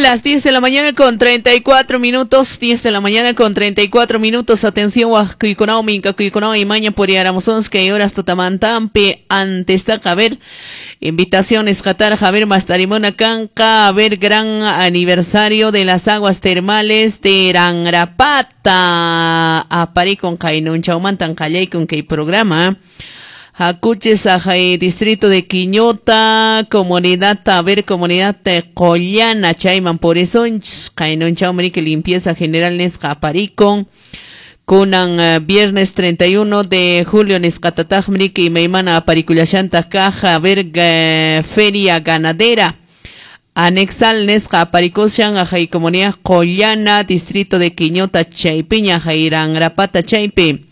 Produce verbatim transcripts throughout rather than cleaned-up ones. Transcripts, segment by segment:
Las diez de la mañana con treinta y cuatro minutos, diez de la mañana con treinta y cuatro minutos. Atención, Huascuyconao, Mincacuyconao y Maña por Yaramosonska y horas Totamantampe. Antes de a ver, invitaciones, Qatar, Javier Mastarimona Canca, a ver, gran aniversario de las aguas termales de Rangrapata. Aparicon Kainun Chaumantan Kallaycon que programa. Hakuches, Ajay, distrito de Quiñota, comunidad, a ver, comunidad de Collana, Chayman, por eso, Kainun Chaumrique, limpieza general Nesca Aparicon. Kunan uh, viernes treinta y uno de julio, Nescatatajmrique y Meimana Aparicullashanta Caja, a ver, uh, feria ganadera. Anexal Nesca Aparicoshan, Ajay, comunidad Collana, distrito de Quiñota, Chaypiña, Jairangrapata, Chaypi.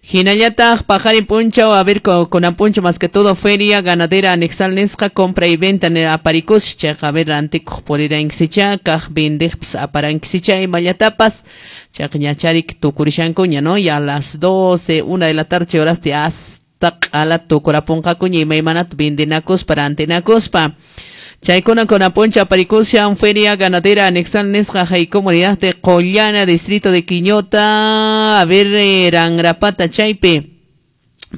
Hinayatag, Pajarin Puncho, a ver, con, con Apuncho, más que todo, feria ganadera anexal nesca, compra y venta en Aparicos, checa, a ver, antico, por ir a Inxicha, kaj, bindijps, aparanxicha y mayatapas, chakñacharik, tucurishancuña, ¿no? Y a las doce, una de la tarde, horas de hasta a la tucuraponcacuña y maimanat, bindinacos para antenacospa. Chaykuna con Aponcha, Aparicosha, feria ganadera anexal nesca, y comunidad de Collana, distrito de Quiñota, a ver, Rangrapata, Chaype,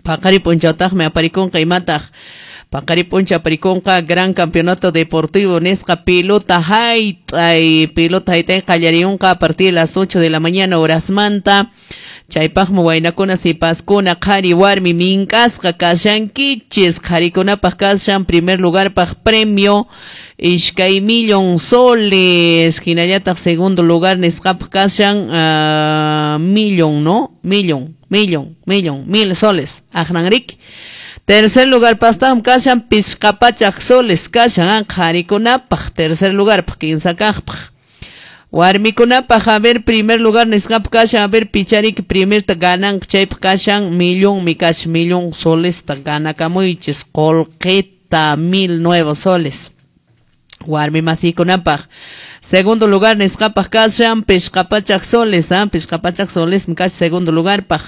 Pacari Ponchatajme, Apariconca y Mataj, Pacari Poncha, Apariconca, gran campeonato deportivo, Nesca, pelota, Haitay, pelota, Haitay, Callariunca, a partir de las ocho de la mañana, horas manta. Chaypajmu waynakuna sipaskuna qhari warmi minkasqa kashankichis qharikunapaq kashan primer lugar paq premio iskay millón soles hinallataq segundo lugar nisqapaq kashan uh, millón, ¿no? Millón, millón, millón, mil soles aqnanriki. Tercer lugar pastam kashan pisqapachaq soles kashan qharikunapaq tercer lugar paq kinsa kaqpaq. Warmikunapaq, a ver, primer lugar nisqap kashan, a ver, picharik primer ta ganan chayp kashan, millón mi kash, millón soles ta ganakamuychis, qolqita mil nuevos soles. Warmi masikunapaq. Segundo lugar nisqapaq kashan, pishqapachaq soles, ah, pishqapachaq soles mi kash segundo lugar paq.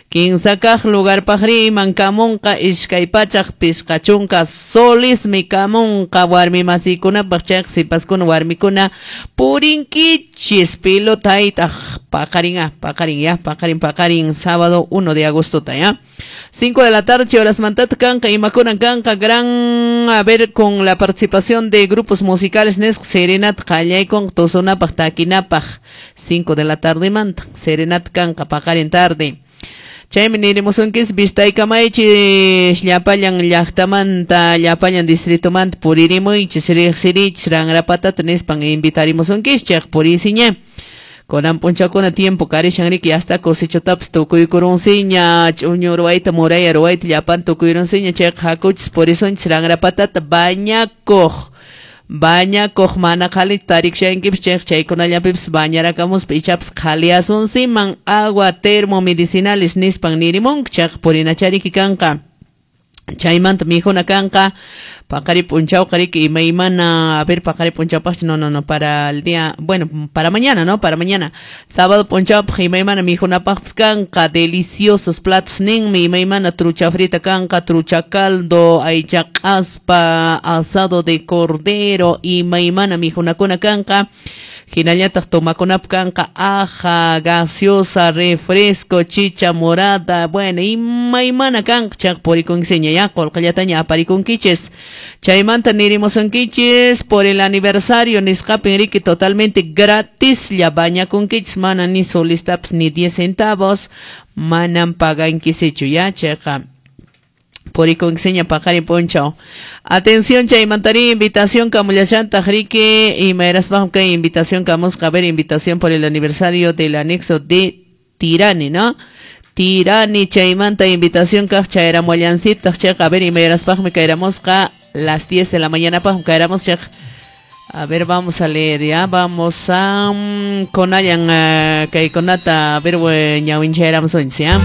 Kinsa kaq lugar paq riman kamunqa iskay pachaq pishqachunka soles mi kamunqa warmi masikunapaq chayq sipaskuna warmikuna purinkichis pelota haytaq paqarin ah, paqarin ya, paqarin paqarin sábado uno de agosto ta ya. cinco de la tarde horas mantat kanqa imakuna kanqa gran a ver con la participación de grupos musicales nesq serenat qallaycon tosunapaq takinapaq cinco de la tarde manta serenat kanqa paqarin tarde. Chaymi nirimusunkichis vistaykamaychis llapallan llaqtamanta llapallan distritomanta puririmuychis riqsirichis Rangrapatata nispan invitarimusunkichis purisiña. Kunan punchakuna tiempo karishan riki hasta cosechotapis tukuykurunsiña ch'uñu ruwayta muraya ruwayta llapan tukuyurunsiña chayqa hakuchis purisunchis Rangrapatata bañakuq bañakuq mana qhalita tarikushankipis chayqa chaykunallapipis bañarakamuspa ichapas qhaliasunsiman agua termomedicinales nispan nirimunku chayqa purinachariki kanqa. Chaymanta mijuna kanqa paqari punchawqa riki imaymana a ver paqari punchawpaqchu no no no para el día bueno para mañana no para mañana sábado punchawpaq imaymana mijunapaqpis kanqa deliciosos platos ninmi imaymana trucha frita kanqa trucha caldo aycha q'aspa asado de cordero imaymana mijunakuna kanqa hinallataq tomakunapaq kanqa aja gaseosa refresco chicha morada bueno imaymana kanqa chayqa purikunkiseña ya qolqellataña aparikunkichis chaymanta nirimusunkichis por el aniversario nisqapin riki totalmente gratislla bañakunkichis mana ni solistapis ni diez centavos manan pagankisichu ya chayqa purikunkiseña paqarin punchaw. Atención chaymantari invitación kamullashantaq riki imayraspaqmi kay invitación kamusqa a ver invitación por el aniversario del anexo de Tirani, ¿no? Tirani chaymanta invitación kaq chayramullansitaq chayqa a ver imayraspaqmi kayramusqa las diez de la mañana paqmi kayramos chayqa. A ver, vamos a leer ya, vamos a um, konallan uh, kaykunata a ver ñawinchayramusunchis ya.